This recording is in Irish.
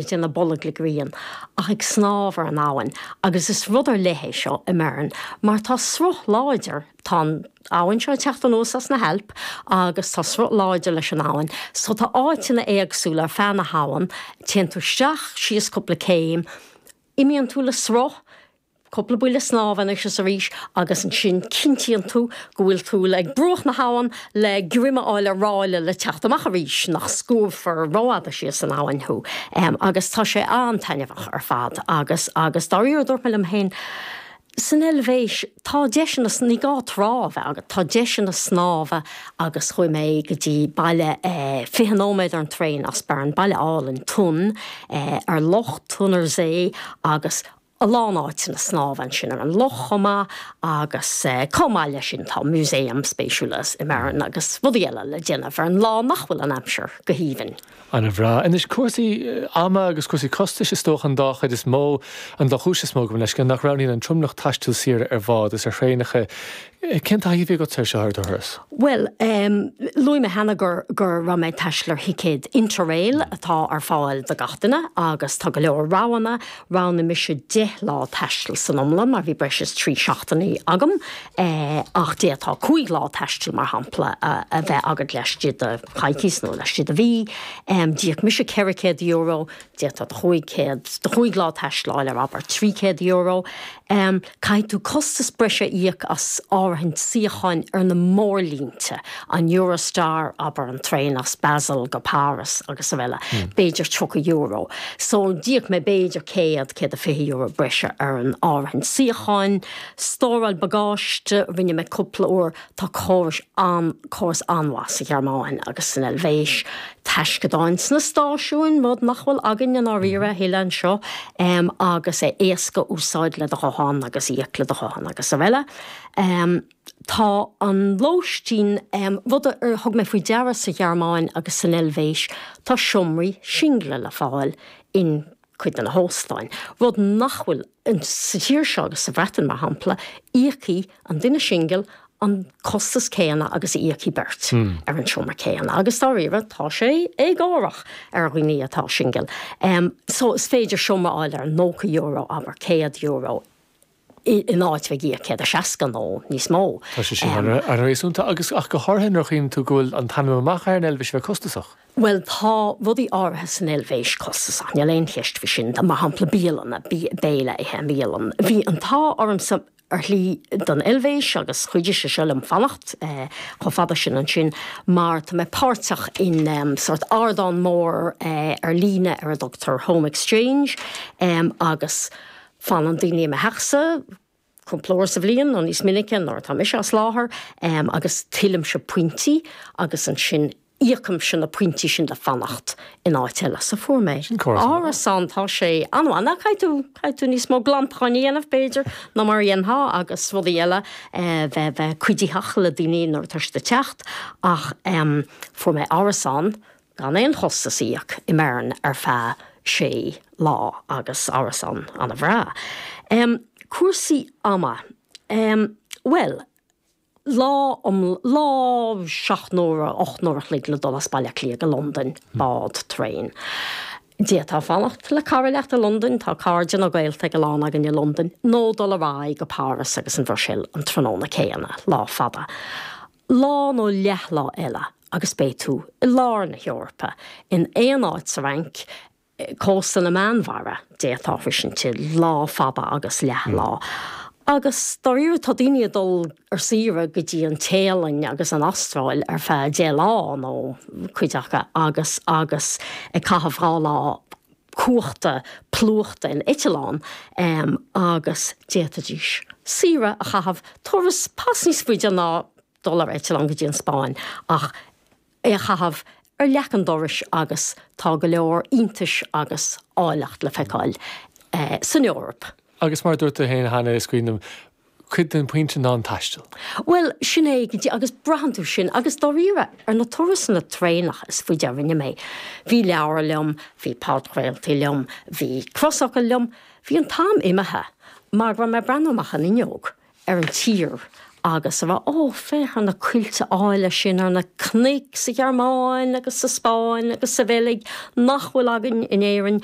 Ag déanamh bolg le grian ach ag snámh ar an abhainn agus is rud ar leith é seo i mBeirn mar tá sruth láidir, tá an abhainn seo ag teacht anuas as na hAilp agus tá sruth láidir leis an abhainn so tá áiteanna éagsúla ar feadh na habhann, téann tú isteach síos cúpla céim, imíonn tú le sruth, cúpla buille snámha anois is arís agus ansin cinntíonn tú go bhfuil tú ag bruach na habhann le greim a fháil ar ráille le teacht amach arís, nach scuabfar rófhada síos san abhainn thú. Agus tá sé an-taitneamhach ar fad agus, agus dáiríre dúirt mé liom féin, san Eilvéis tá deiseanna, ní gá trá a bheith agat, tá deiseanna snámha agus chuaigh mé go dtí baile 20 nóiméad ar an traein as Bern, baile álainn, Thun, ar loch, Thunersee agus a lán áiteanna snámha ansin ar an loch chomh maith agus chomh maith leis sin tá músaem spéisiúil i mBeirn agus rudaí eile le déanamh ar an lá nach bhfuil an aimsir go haoibhinn. Ana bhreá. Anois cúrsaí ama agus cúrsaí costais is dócha an dá chuid is mó, an dá chúis is mó gabh mo leithscéal, nach roghnaíonn an tromlach taisteal saoire ar bhád is ar thraenacha. Cén taithí a bhí agatsa air seo ar do thuras? Bhuel, luaigh mé cheana go raibh mé ag taisteal ar thicéad Interrail atá ar fáil do gach duine agus tá go leor roghanna. Roghnaigh mise 10 lá taistil san iomlán mar bhí breis is 3 seachtainí agam ach d'fhéadfá 5 lá taistil mar shampla a bheith agat laistigh de choicís nó laistigh de mhí. D'íoc mise €400, d'fhéadfá do 500, do 5 lá taistil a fháil ar abair €300. Caithfidh tú costas breise a íoc as áirithint suíocháin ar na mórlínte, an Eurostar, abair, an traein as Basel go Páras agus araile, b'fhéidir €30. So d'íoc mé b'fhéidir €100, €120 breise ar an áirithint suíocháin. Stóráil bagáiste, rinne mé cúpla uair. Tá córais an, córas an-mhaith sa Ghearmáin agus san Eilvéis, taisceadáin sna stáisiúin, rud nach bhfuil againn i ndáiríre a thuilleadh anseo, agus é éasca úsáid le do ghuthán agus íoc le do ghuthán agus araile. Tá an lóistín, rud ar thug mé faoi deara sa Ghearmáin agus san Eilvéis, tá seomraí single le fáil in cuid de na hóstáin, rud nach bhfuil sa tír seo agus sa Bhreatain, mar shampla, íocfaidh an duine singil an costas céanna agus a íocfaidh beirt ar an seomra céanna agus dáiríre tá sé éagórach ar dhaoine atá singil. So is féidir seomra a fháil ar €90, abair €100. in áit bheith ag íoc 160 nó níos mó. Tá sé sin an-réasúnta agus ach go háirithe nuair a chuimhníonn tú go bhfuil an t-ainm amach ar an Eilvéis a bheith costasach. Bhuel, tá rudaí áirithe san Eilvéis costasach, níl aon cheist faoi sin. Mar shampla bialanna, béile a ithe i mbialann. Bhí an t-ádh ormsa ar shlí don Eilvéis agus chuidigh sé seo liom fanacht chomh fada sin ansin mar tá mé páirteach in sórt ardán mór ar líne ar a dtugtar Home Exchange agus Fanann daoine i mo theachsa cúpla uair sa bhliain nó níos minice nuair atá mise as láthair agus tuillimse pointí agus ansin íocaimse na pointí sin le fanacht in áit eile. So fuair mé árasán, tá sé an-mhaith. Now caithfidh tú, caithfidh tú níos mó glantacháin a dhéanamh b'fhéidir ná mar a dhéanfá agus rudaí eile, bheith, bheith cuiditheach le daoine nuair atá siad ag teacht ach fuair mé árasán gan aon chostas a íoc i mBeirn ar feadh sé lá agus árasán an-bhreá. Cúrsaí ama, bhuel, lá um, lá 7 n-uaire, 8 n-uaire a chloig le dul as Baile Átha Cliath go Londain, bád, traein. D'fhéadfá fanacht le cara leat i Londain, tá cairde nó gaolta ag a lán againn i Londain, nó dul ar aghaidh go Páras agus an Bhruiséil an tráthnóna céanna, lá fada. Lá nó leathlá eile agus beidh tú i lár na hEorpa, in aon áit sa Fhrainc, cósta na Meánmhara, d'fhéadfá sroisint i lá fada agus leathlá. Agus dáiríre tá daoine ag dul ar saoire go dtí an Téalainn agus an Astráil ar feadh 10 lá nó cuid acu agus agus ag caitheamh 2 lá cuachta plúchta in eitleán agus d'fhéadfaidís saoire a chaitheamh, turas pas níos faide ná dul ar eitleán go dtí an Spáinn ach é a chaitheamh ar leac an dorais agus tá go leor iontais agus áilleacht le feiceáil san Eoraip. Agus mar a dúirt tú féin cheana, is cuimhin liom, cuid den phointe ná an taisteal. Bhuel, sin é go díreach, agus braitheann tú sin, agus dáiríre, ar na turasanna traenach is faide a rinne mé, bhí leabhar liom, bhí podchraoltaí liom, bhí crosfhocail liom, bhí an t-am imithe mar go raibh mé ag breathnú amach an fhuinneog ar an tír. Agus a rá, Ó, féach ar na coillte áille sin, ar na cnoic sa Ghearmáin agus sa Spáinn agus sa Bheilg nach bhfuil againn in Éirinn.